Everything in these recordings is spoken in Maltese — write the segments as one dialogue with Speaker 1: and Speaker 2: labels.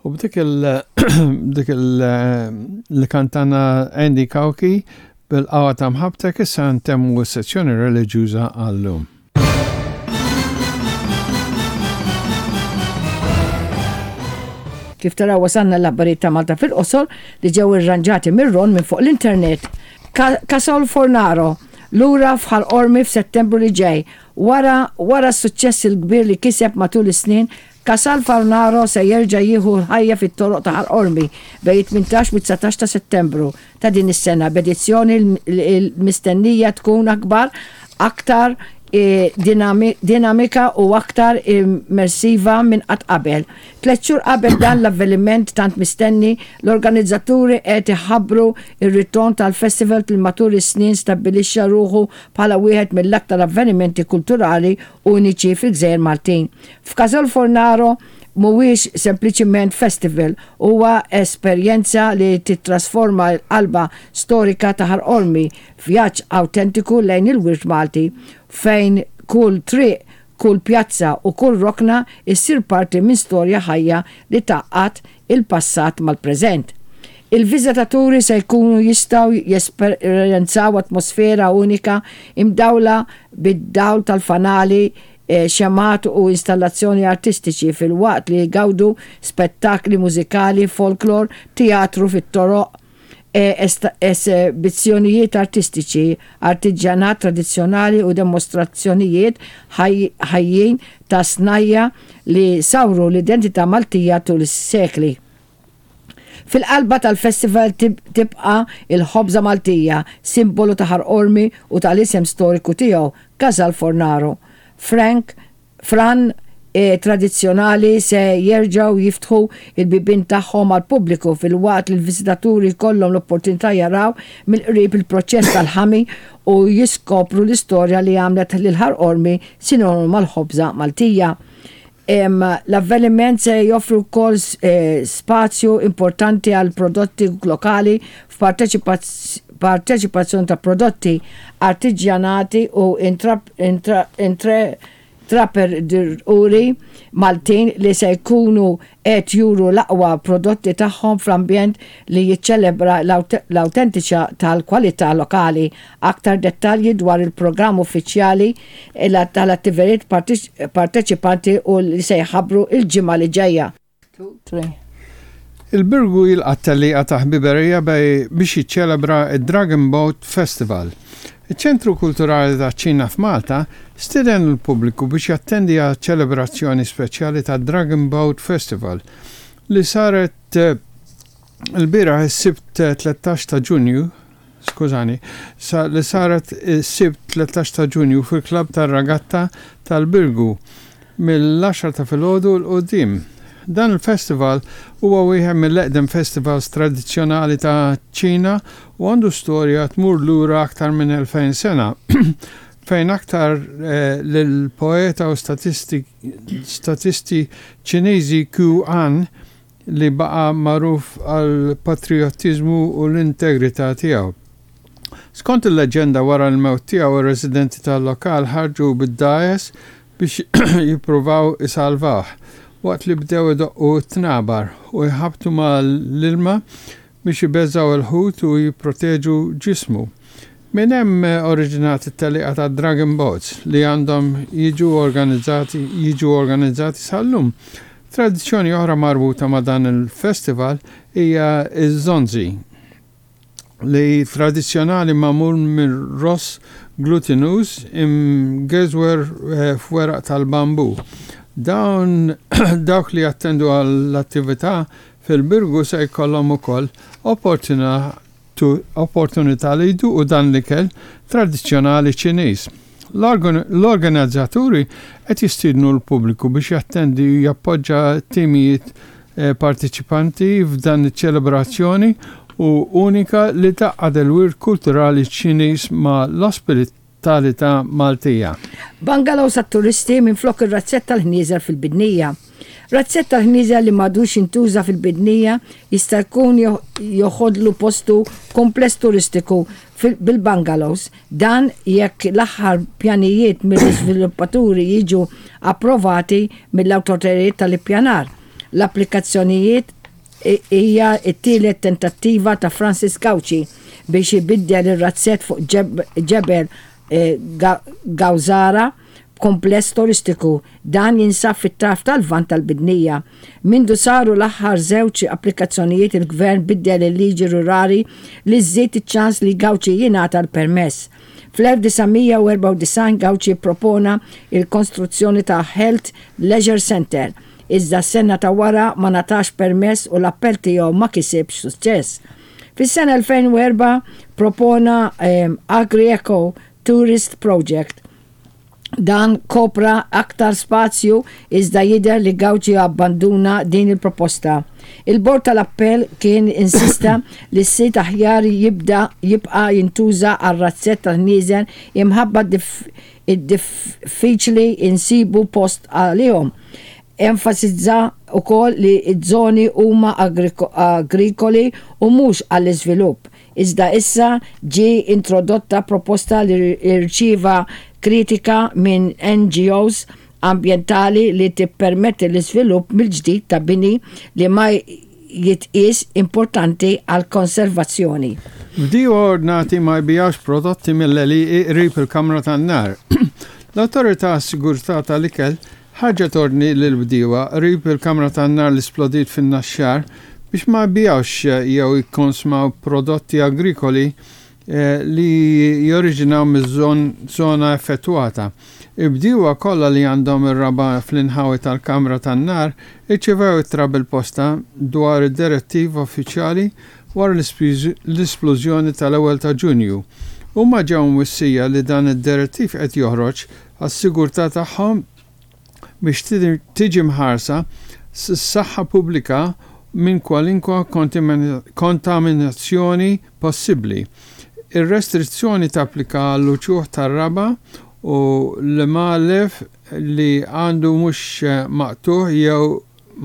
Speaker 1: U b'dik il dik il li kantana Andy Cauchi bil-qawwa ta' mħabbtek issa ntemmu s-sezzjoni reliġjuża għal-lum.
Speaker 2: Kif taraw wasalna l-aħbarijiet ta' Malta fil-qosor li ġew irranġati mir-Ron minn fuq l-internet. Casol Fornaro lura f'Ħal Qormi f'Settembru li ġej wara wara s-suċċess il-kbir li kiseb matul is-snin Casal Fornaro se jerġa' jieħu l-ħajja fit-toroq ta' Ħal Qormi bejn it-18 u t-19 ta' Settembru ta' din is-sena b'edizzjoni li mistennija tkun akbar, aktar dinamika u aktar immersiva minn qatt qabel. Tlett xhur qabel dan l-avveniment tant mistenni, l-organizzaturi qed iħabbru r-ritorn tal-festival li matul is-snin stabbilixxa ruħu bħala wieħed mill-aktar avvenimenti kulturali uniċi fil-gżejjer Maltin. F'Casol Fornaro mhuwiex sempliċiment festival, huwa esperjenza li tittrasforma l-qalba storika ta' Ħal Qormi f'vjaġġ awtentiku lejn il-wirt Malti, fejn kull triq, kull pjazza u kull rokna ssir parti minn storja ħajja li tgħaqqad il-passat mal-preżent. Il-viżitaturi se jkunu jistgħu jesperjenzaw atmosfera unika imdawla bid-dawl tal-fanali, xemgħat u installazzjoni artistiċi filwaqt li jgawdu spettakli mużikali, folklor, teatru fit-toroq, esebizzjonijiet artistiċi, artiġjanat tradizzjonali u demostrazzjonijiet ħajjin ta' snajja' li sawru l-identità Maltija tul is-sekli. Fil-qalba tal-festival tibqa' l-ħobża Maltija, simbolu ta' Ħal Qormi u tal-isem storiku tiegħu, Casal Fornaro. Frank, fran tradizzjonali se jerġgħu jiftħu l-bibien tagħhom għall-pubbliku filwaqt li l-viżitaturi jkollhom l-opportunità jaraw mill-qrib il-proċess tal-ħami u jiskopru l-istorja li għamlet lil Ħal Qormi sinonimu mal-ħobża Maltija. L-avveniment se joffri wkoll spazju importanti għal prodotti lokali f'parteċipazzjoni ta' prodotti artiġjanati u intraprenditori Maltin li se jkunu qed juru l-aqwa prodotti tagħhom fl-ambjent li jiċċelebra l-awtentiċità tal-kwalità lokali. Aktar dettalji dwar il-programm uffiċjali tal-attivitajiet parteċipanti u li se jħabbru l-ġimgħa li ġejja.
Speaker 1: Il-Birgu jilqa' t-tellieqa ta' ħbiberija biex jiċċelebra d-Dragon Boat Festival. Iċ-Ċentru Kulturali taċ-Ċina f'Malta stieden lill-pubbliku biex jattendi għaċ-ċelebrazzjoni speċjali tad-Dragon Boat Festival li saret lbieraħ is-Sibt 13 ta' Ġunju skużani, li saret is-Sibt 13 ta' Ġunju fil-Klabb tar-Ragatta tal-Birgu mill-għaxra ta' filgħodu 'l quddiem. Dan il-festival huwa wieħed mill-eqdem festivals tradizzjonali ta' Ċina u għandu storja tmur lura aktar minn 2000 sena fejn aktar lill-poeta u statisti Ċiniżi Qu An li baqa' magħruf għall-patrijottiżmu u l-integrità tiegħu. Skont il-leġġenda wara l-mewt tiegħu r-residenti tal-lokal ħarġu bid-dgħajes biex jippruvaw isalvawh, waqt li bdew idoqqu t-tnabar u jħabbtu mal-ilma biex ibeżżgħu l-ħut u jipproteġu ġismu. Minn hemm oriġinat it-tellieqa tad-Dragon Boats li għandhom jiġu organizzati jiġu organizzati sal-lum. Tradizzjoni oħra marbuta ma' dan il-festival hija ż-zonzi li tradizzjonali magħmul minn ross glutinuż imgeżwer f'weraq tal-bambù. Dawn dawk li jattendu għall-attività Fil-Birgu se jkollhom ukoll opportunità li jduqu dan l-ikel tradizzjonali Ċiniż. L-organizzaturi qed jistiednu l-pubbliku biex jattendi u jappoġġa t-timijiet parteċipanti f'dan iċ-ċelebrazzjoni u unika li tgħaqqad il-wirt kulturali Ċiniż ma' l-ospitalità Maltija.
Speaker 2: Bungalows għat-turisti minflok ir-razzett tal-ħnieżer fil-Bidnija. Razzett tal-ħnieżer li m'għadux jintuża fil-Bidnija jista' jkun joħodlu postu kumpless turistiku bil-bungalows. Dan jekk l-aħħar pjanijiet mill-iżviluppaturi jiġu approvati mill-awtoritajiet tal-ippjanar. L-applikazzjonijiet hija t-tielet tentattiva ta' Francis Gauci biex ibiddel ir-razzett fuq Ġebel Gawżara b'kumpless turistiku. Dan jinsab fit-tarf tal-Lvant tal-Bidnija. Mindu saru l-aħħar żewġ applikazzjonijiet il-Gvern biddel il-liġi rurali li żżid iċ-ċans li Gauci jingħata l-permess. Fl-1994 Gauci ppropona l-konstruzzjoni ta' Health Leisure Centre, iżda s-sena ta' wara ma ngħatax permess u l-appell tiegħu ma kisibx suċċess. Fis-sena 2004 propona Agri-Eco Tourist Project. Dan kopra aktar spazju iżda jidher li Gauci abbanduna din il-proposta. Il-Bord tal-Appell kien insista li s-sit aħjar jibda jibqa' jintuża għar-razzett tal-ħnieżer imħabba id-diffiċli insibu post għalihom. Enfasizza wkoll li ż-żoni huma agrikoli u mhux għall-iżvilupp. Iżda issa ġie introdotta proposta li rċieva kritika minn NGOs ambjentali li tippermetti l-iżvilupp mill-ġdid ta' bini li ma jitqies importanti għall-konservazzjoni.
Speaker 1: Bdiewa ordnati ma jbigħux prodotti mill-għelieqi qrib il-kamra tan-nar. L-Awtorità għas-Sigurtà tal-Ikel ħarġet ordni lill-bdiewa qrib il-kamra tan-nar li splodiet fin-Naxxar biex ma jbigħux jew jikkonsmaw prodotti agrikoli li joriġinaw miż-żona effettwata. Il-bdiewa kollha li għandhom ir-raba' fl-inħawi tal-kamra tan-nar irċevew ittra bil-posta dwar id-direttiva uffiċjali wara l-isplużjoni tal-ewwel ta' Ġunju. Huma ġew mwissija li dan id-direttiv qed joħroġ għas-sigurtà tagħhom biex tiġi mħarsa s-saħħa pubblika minn kwalinkwa kontaminazzjoni possibbli. Ir-restrizzjoni tapplika għall-uċuħ tar-raba' u l-imgħalef li għandu mhux maqtugħ jew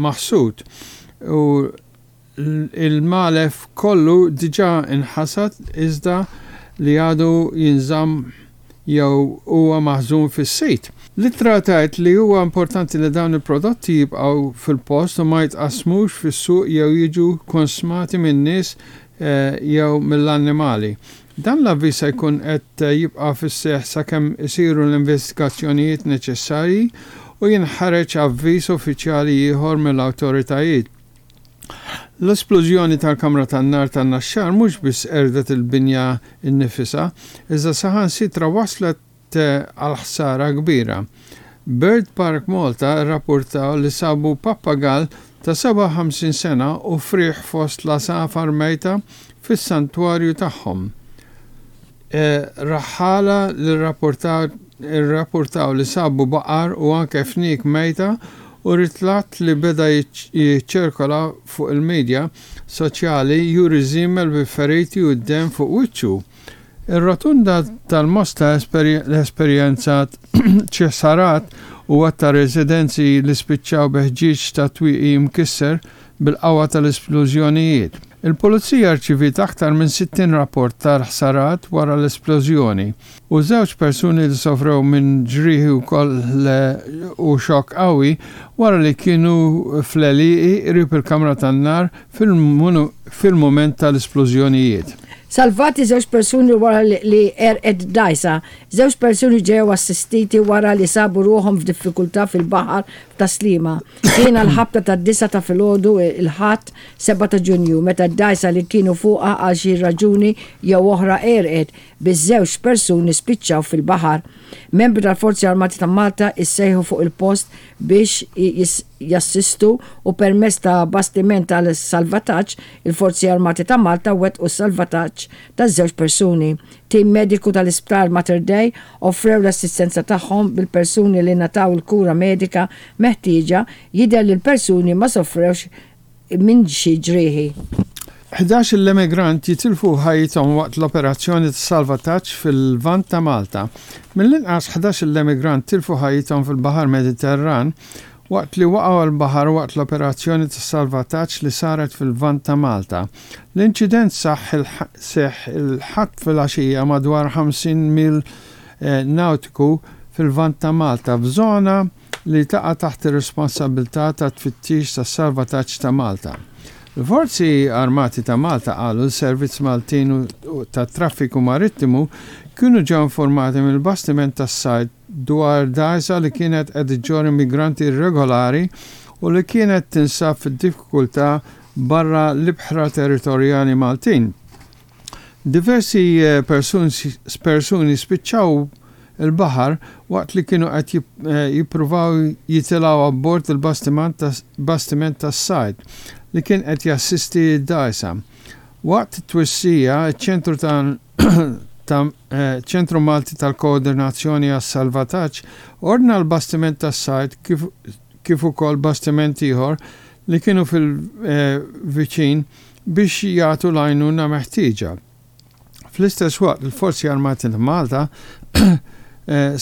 Speaker 1: maħsud u l-magħlef kollu diġà nħasad iżda li għadu jinżamm jew huwa maħżun fis-sit. L-ittra tgħid li huwa importanti li dawn il-prodotti jibqgħu fil-post u ma jitqassmux fis-suq jew jiġu konsmati min-nies jew mill-annimali. Dan l-avviż se jkun qed jibqa' fis-seħħ sakemm isiru l-investigazzjonijiet neċessarji u jinħareġ avviż uffiċjali ieħor mill-awtoritajiet. L-esplużjoni tal-kamra tan-nar tan-Naxxar mhux biss qerdet il-binja nnifisha, iżda saħansitra wasslet għal ħsara kbira. Bird Park Malta rrappurtaw li sabu pappagall ta' 57 sena u frieħ fost l-għasafar mejta fis-santwarju tagħhom. Raħħala li rrappurtaw li sabu baqar u anke fniek mejta u ritratt li beda jiċċirkola fuq il-media soċjali juri żiemel bi feriti u d-demm fuq wiċċu. Ir-Rotunda tal-Mosta esperjenzat xi ħsarat u għadd ta' residenzi li spiċċaw bi ħġieġ ta' twieqi mkisser bil-qawwa tal-isplużjonijiet. Il-Pulizija rċiviet aktar minn 60 rapport tal-ħsarat wara l-isplużjoni u żewġ persuni li sofrew minn ġrieħi wkoll u xokk qawwi wara li kienu fl-għelieqi qrib il-kamra tan-nar fil-mument tal-isplużjonijiet.
Speaker 2: Salvati żewġ persuni wara li għerqet dgħajsa. Żewġ persuni ġew assistiti wara li sabu ruħhom f'diffikultà fil-baħar f'Tas-Sliema. Kien għall-ħabta tad-disgħa ta' filgħodu l-Ħadd 7 ta' Ġunju meta d-dgħajsa li kienu fuqha għal xi raġuni jew oħra għerqet, biż-żewġ persuni spiċċaw fil-baħar. Membri tal-Forzi Armati ta' Malta issejħu fuq il-post biex jassistu u permezz ta' bastiment tal-salvataġġ, il-Forzi Armati ta' Malta wettqu s-salvataġġ taż-żewġ persuni. Tim mediku tal-Isptar Mater Dei offrew l-assistenza tagħhom bil-persuni li ngħataw il-kura medika meħtieġa, jidher li l-persuni ma sofrewx minn xi ġrieħi.
Speaker 1: 11-il emigrant jitilfu ħajjithom waqt l-operazzjoni ta' salvataġġ fil-Lvant ta' Malta. Mill-inqas 11-il emigrant tilfu ħajjithom fil-Baħar Mediterran waqt li waqgħu għall-baħar waqt l-operazzjoni ta' salvataġġ li saret fil-Lvant ta' Malta. L-inċident seħħ il-Ħadd filgħaxija madwar 50 mil nawtiku fil-Lvant ta' Malta f'żona li taqa' taħt ir-responsabbiltà tat-tfittix tas-salvataġġ ta' Malta. Il-Forzi Armati ta' Malta qalu li servizz Maltin tat-traffiku marittimu kienu ġew informati mill-bastiment tas-sajd dwar dgħajsa li kienet qed iġġorr immigranti irregolari u li kienet tinsab fid-diffikultà barra l-ibħra territorjali Maltin. Diversi persuni spiċċaw il-baħar waqt li kienu qed jippruvaw jitilgħu abbord il-bastiment tas-sajd li kien qed jassisti d-dgħajsa. Waqt it-twissija, iċ-Ċentru ta' Ċentru Malti tal-Koordinazzjoni għas-Salvataġġ ordna l-bastiment tas-sajd kif ukoll bastiment ieħor li kienu fil-viċin biex jagħtu l-għajnuna meħtieġa. Fl-istess waqt il-Forzi Armati ta' Malta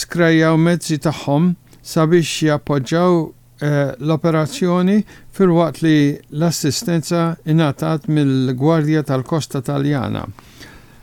Speaker 1: skrejjaw mezzi tagħhom sabiex jappoġġaw l-operazzjoni filwaqt li l-assistenza ingħatat mill-Gwardja tal-Kosta Taljana.